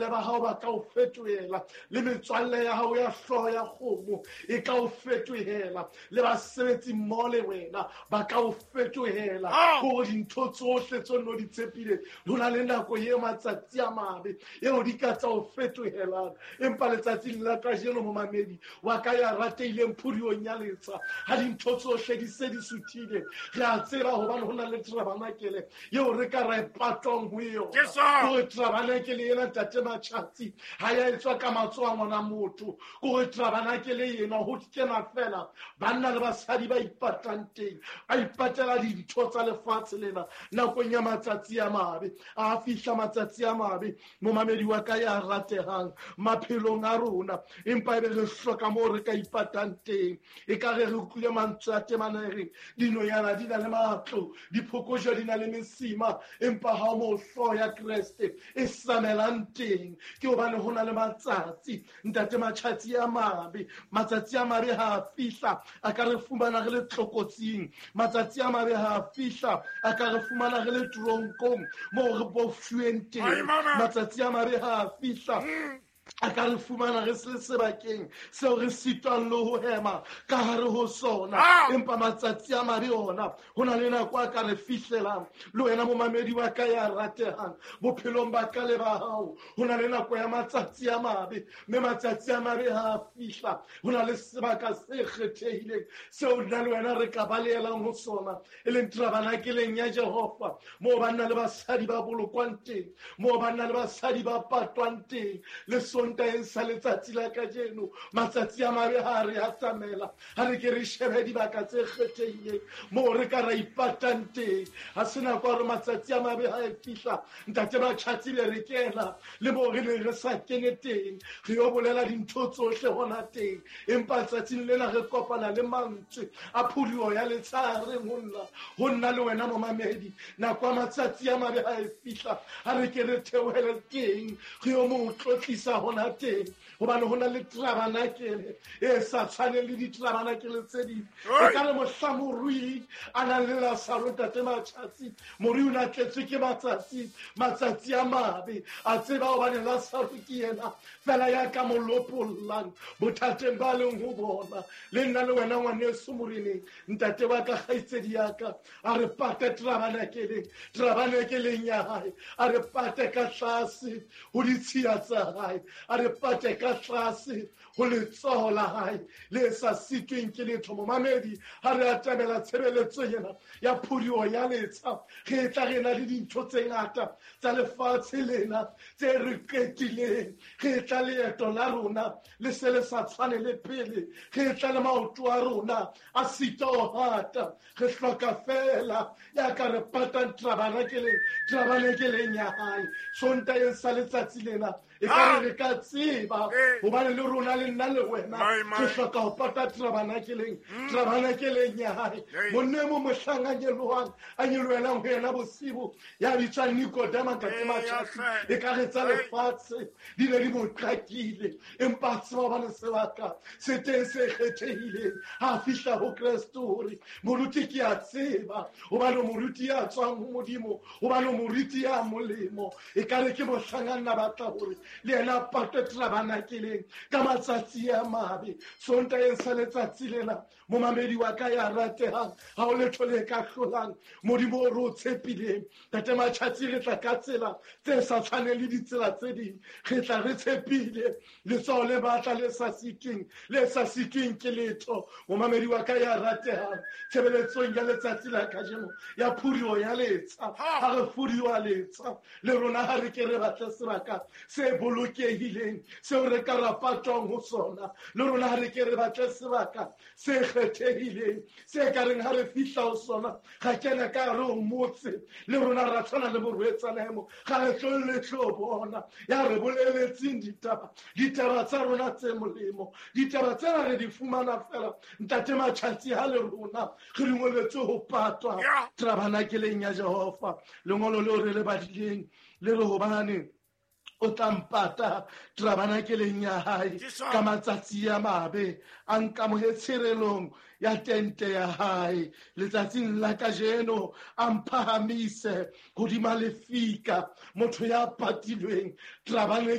Batswalle ba hao ba ka o fetohela, le metswalle ya hao ya hlooho ya kgomo e ka o fetohela, le basebetsi mmoho le wena ba ka o fetohela. Gore dintho tsohle tse no di tshepile, ho na le nako e matsatsi a mabe eo di ka tsa o fetohelang. Empa letsatsing la kajeno, momamedi wa ka ya ratehileng phodiong ya letsha, ha dintho tsohle di se di suthile, re a tseba hobane ho na le tabernacle eo re ka ra e patwang ho yona. Kore tabernacle ena, ntate Matjhatsi, ha ya etswa ka matsoho a ngwana motho. Kore tabernacle ena ho kena fela banna le basadi ba ipatang teng, ba ipatela dintho tsa lefatshe lena nakong ya matsatsi a mabe. A fihla matsatsi a mabe, momamedi wa ka ya ratehang, maphelong a rona, empa ebe re hloka moo re ka ipatang teng. E ka re re utlwile mantswe a temana e reng dinonyana di na le matlo, diphokojwe di na le mesima, empa ha mo hlooho ya Kreste e samelang teng. Ke hobane ho na le matsatsi, ntate Matjhatsi, a mabe. Matsatsi a mabe ha a fihla, a ka re fumana re le tlokotsing. Matsatsi a mabe ha a fihla, a ka re fumana re le tronkong moo re bofshuweng teng. Matsatsi a mabe ha a fihla, a ka re fumana re se sebakeng seo re sitwang le ho hema ka hare ho sona. Empa matsatsi a mabe ona, ho na le nako a ka re fihlelang. Le wena momamedi wa ka ya ratehang, bophelong ba ka le ba hao, ho na le nako ya matsatsi a mabe, mme matsatsi a mabe ha a fihla, ho na le sebaka se kgethehileng seo nna le wena re ka balehelang ho sona, e leng tabernakeleng ya Jehova, moo banna le basadi ba bolokwang teng, moo banna le basadi ba patwang teng. Le Sontaeng sa letsatsi la kajeno, matsatsi a mabe ha re atamela, ha re ke re shebe dibaka tse kgethehileng moo re ka ra ipatang teng. Ha se nako ya hore matsatsi a mabe ha e fihla, ntate Batjhatsi, be re kena le moo re neng re sa kene teng, re yo bolela dintho tsohle hona teng. Empa tsatsing lena re kopana le mantswe a phuduo ya letshareng ho nna, ho nna le wena momamedi. Nako ya matsatsi a mabe ha e fihla, ha re ke re theohele teng, re yo mo tlotlisa hona teng, hobane ho na le tabernacle e sa tshwaneng le ditabernacle tse ding. E ka re mohla morui a nang le Lasaro, ntate Matjhatsi, morui o ne a tletswe ke matsatsi, matsatsi a mabe. A tseba hobane Lasaro ke yena fela ya ka mo lopollang bothateng ba leng ho bona. Le nna le wena, ngwaneso moreneng, ntate wa ka, kgaitsedi ya ka, a re pate tabernakeleng, tabernakeleng ya hae, a re pate ka tlase ho ditshiya tsa hae, a re pate ka tlase ho letsoho la hae le sa sitweng ke letho. Momamedi, ha re atamela tshebeletso ena ya phuduo ya letsha, re tla re na le dintho tse ngata tsa lefatshe lena tse re qetileng. Re tla leeto la rona le se le sa tshwane le pele, re tla le maoto a rona a sita ho hata. Re hloka fela ya ka re patang tabernakeleng, tabernakeleng ya hae. Sontaeng sa letsatsi lena, e ka re re ka tseba hobane le rona, le nna le wena, re hloka ho pata tabernakeleng, tabernakeleng ya hae. Monne mo mohlang a nyelohang, a nyolohelang ho yena bosibu, ya bitswang Nikodema, ntate Matjhatsi, e ka re tsa lefatshe di ne di mo qakile, empa a tseba hobane sebaka se teng se kgethehileng. Ha a fihla ho Kreste, hore moruti, ke a tseba hobane moruti ya tswang ho Modimo, hobane moruti ya molemo. E ka re ke mohlang a nna batla hore le yena a patwe tabernakeleng ka matsatsi a mabe. Sontaeng sa letsatsi lena, momamedi wa ka ya ratehang, ha o letho le ka hlolang Modimo o re o tshepileng. Tate Matjhatsi, re tla ka tsela tse sa tshwaneng le ditsela tse ding, re tla re tshepile letsoho le matla le sa sitweng, le sa sitweng ke letho. Momamedi wa ka ya ratehang, tshebeletsong ya letsatsi la kajeno ya phuduo ya letsha, ha re fuduwa letsha, le rona ha re ke re batle sebaka se bolokehileng seo re ka ra patwang ho sona. Le rona ha re ke re batle sebaka se kgethehileng se ka reng ha re fihla ho sona, ga kena ka hare ho motse, le rona ra tshwana le morwetsana emo, ga re tlo le tlo bona ya re boleletseng ditaba, ditaba tsa rona tse molemo. Ditaba tsena re di fumana fela, ntate Matjhatsi, ha le rona re dingoletswe ho patwa tabernakeleng ya Jehova. Lengolo leo re le badileng le re hobane o tla mpata tabernakeleng ya hae ka matsatsi a mabe, a nkamohe tshirelong ya tente ya hae. Letsatsing la kajeno a mphahamise hodima lefika. Motho ya patilweng tabernakeleng.